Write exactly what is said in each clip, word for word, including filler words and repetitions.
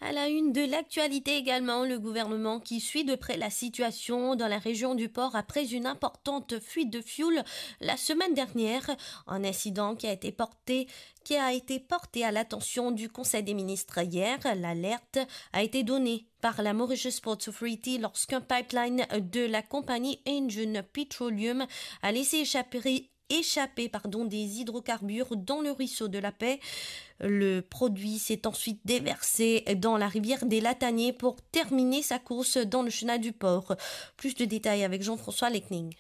À la une de l'actualité également, le gouvernement qui suit de près la situation dans la région du Port après une importante fuite de fioul la semaine dernière. Un incident qui a été porté, qui a été porté à l'attention du Conseil des ministres hier. L'alerte a été donnée par la Mauritius Ports Authority lorsqu'un pipeline de la compagnie Engine Petroleum a laissé échapper échapper, pardon, des hydrocarbures dans le ruisseau de la Paix. Le produit s'est ensuite déversé dans la rivière des Lataniers pour terminer sa course dans le chenal du Port. Plus de détails avec Jean-François Lecning.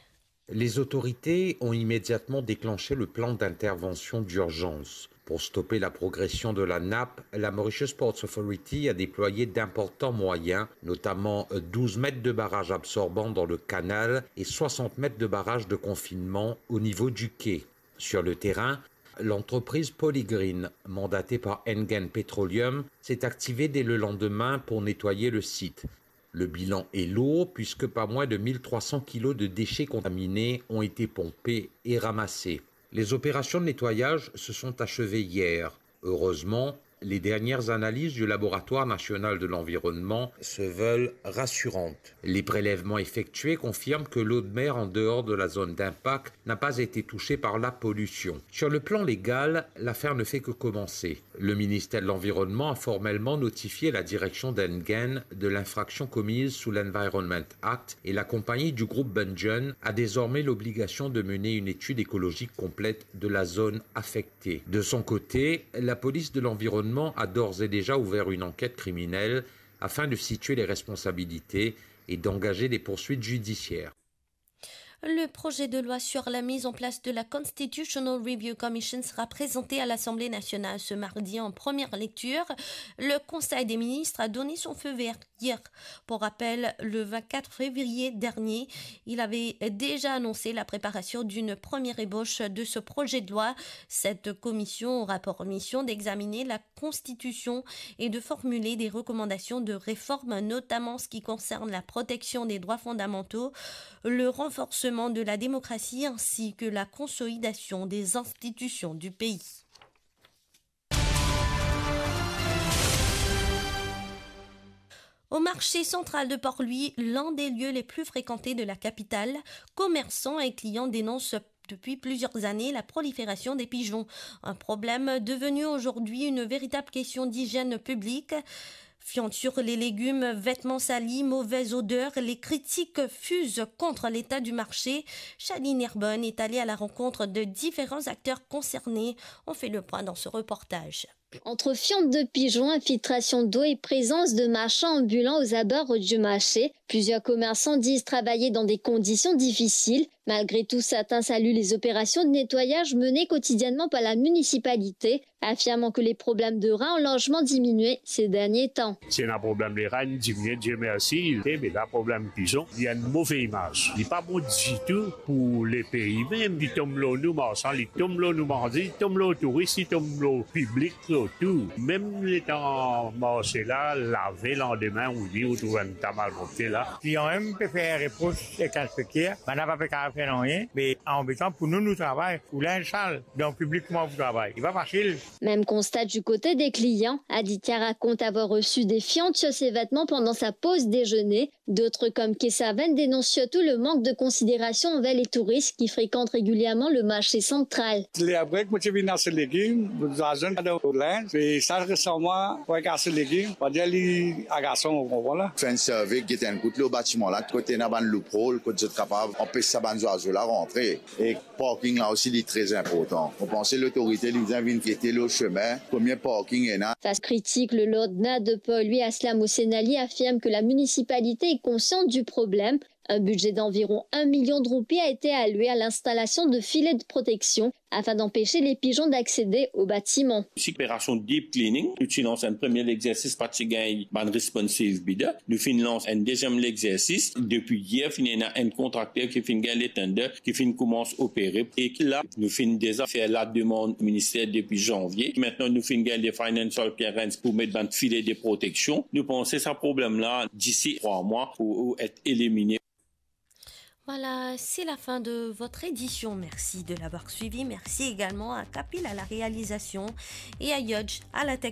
Les autorités ont immédiatement déclenché le plan d'intervention d'urgence. Pour stopper la progression de la nappe, la Mauritius Ports Authority a déployé d'importants moyens, notamment douze mètres de barrage absorbant dans le canal et soixante mètres de barrage de confinement au niveau du quai. Sur le terrain, l'entreprise Polygreen, mandatée par Engen Petroleum, s'est activée dès le lendemain pour nettoyer le site. Le bilan est lourd puisque pas moins de mille trois cents kilos de déchets contaminés ont été pompés et ramassés. Les opérations de nettoyage se sont achevées hier. Heureusement, les dernières analyses du Laboratoire national de l'environnement se veulent rassurantes. Les prélèvements effectués confirment que l'eau de mer en dehors de la zone d'impact n'a pas été touchée par la pollution. Sur le plan légal, l'affaire ne fait que commencer. Le ministère de l'Environnement a formellement notifié la direction d'Engen de l'infraction commise sous l'Environment Act et la compagnie du groupe Bungen a désormais l'obligation de mener une étude écologique complète de la zone affectée. De son côté, la police de l'environnement a d'ores et déjà ouvert une enquête criminelle afin de situer les responsabilités et d'engager des poursuites judiciaires. Le projet de loi sur la mise en place de la Constitutional Review Commission sera présenté à l'Assemblée nationale ce mardi en première lecture. Le Conseil des ministres a donné son feu vert hier. Pour rappel, le vingt-quatre février dernier, il avait déjà annoncé la préparation d'une première ébauche de ce projet de loi. Cette commission aura pour mission d'examiner la Constitution et de formuler des recommandations de réforme, notamment en ce qui concerne la protection des droits fondamentaux, le renforcement de la démocratie ainsi que la consolidation des institutions du pays. Au marché central de Port-Louis, l'un des lieux les plus fréquentés de la capitale, commerçants et clients dénoncent depuis plusieurs années la prolifération des pigeons. Un problème devenu aujourd'hui une véritable question d'hygiène publique. Fientes sur les légumes, vêtements salis, mauvaise odeur, les critiques fusent contre l'état du marché. Shaline Herbonne est allée à la rencontre de différents acteurs concernés. On fait le point dans ce reportage. Entre fientes de pigeons, infiltration d'eau et présence de marchands ambulants aux abords du marché, plusieurs commerçants disent travailler dans des conditions difficiles. Malgré tout, certains saluent les opérations de nettoyage menées quotidiennement par la municipalité, affirmant que les problèmes de rats ont largement diminué ces derniers temps. Si ena problem leran, diminue, Dieu merci, e, me la problem pizon, li ena enn move imaz. Li pa bon ditou pou lepei mem. Li tom lor nou marsan, li tom lor nou manze, li tom lor touris, li tom lor piblik, lor tou. Mem letan marse la lave, landime, ou li, ou trouv enn ta malpropte la. Klian mem pe fer repros ek inspekter, bann la pa pe kapav fer nanye, me anbetan pou nou, nou travay, pou linz sal, donk piblik kouma pou travay? Li pa fasil. Même constat du côté des clients. Aditya raconte avoir reçu des fientes sur ses vêtements pendant sa pause déjeuner. D'autres, comme Kesaven, dénoncent surtout le manque de considération envers les touristes qui fréquentent régulièrement le marché central. Ler break, mo ti vinn aste legim, mo ti al zwenn dan linz, e sa resaman, mo al aste legim, mo dir li agasan, ou konpran la. Fer enn sirvey, get enn kout lor batiman la, kot ena bann loophole, kot zot kapav anpes sa bann zwazo la rantre. E parking la osi, li tre inportan. Mo panse lotorite, li bizin vinn gete lor sime, konbien parking ena. Face critique, le Lord Maire de Port-Louis, Aslam Hossein Ali, affirme que la municipalité est consciente du problème. Un budget d'environ un million de roupies a été alloué à l'installation de filets de protection afin d'empêcher les pigeons d'accéder au bâtiment. Si operasion deep cleaning, nou ti lans enn premie lexersis, pa ti gagn bann responsive bidder. Nou finn lans enn deziem lexersis. Depi yer, finn ena enn kontrakter ki finn gagn le tender, ki finn koumans opere. E la, nou finn deza fer lademann minister depi zanvie. Aster nou finn gagn le financial clearance pou met bann file de proteksion. Nou panse sa problem la, disi trwa mwa, pou, pou et elimine. Voilà, c'est la fin de votre édition. Merci de l'avoir suivi. Merci également à Kapil à la réalisation et à Yodj à la technique.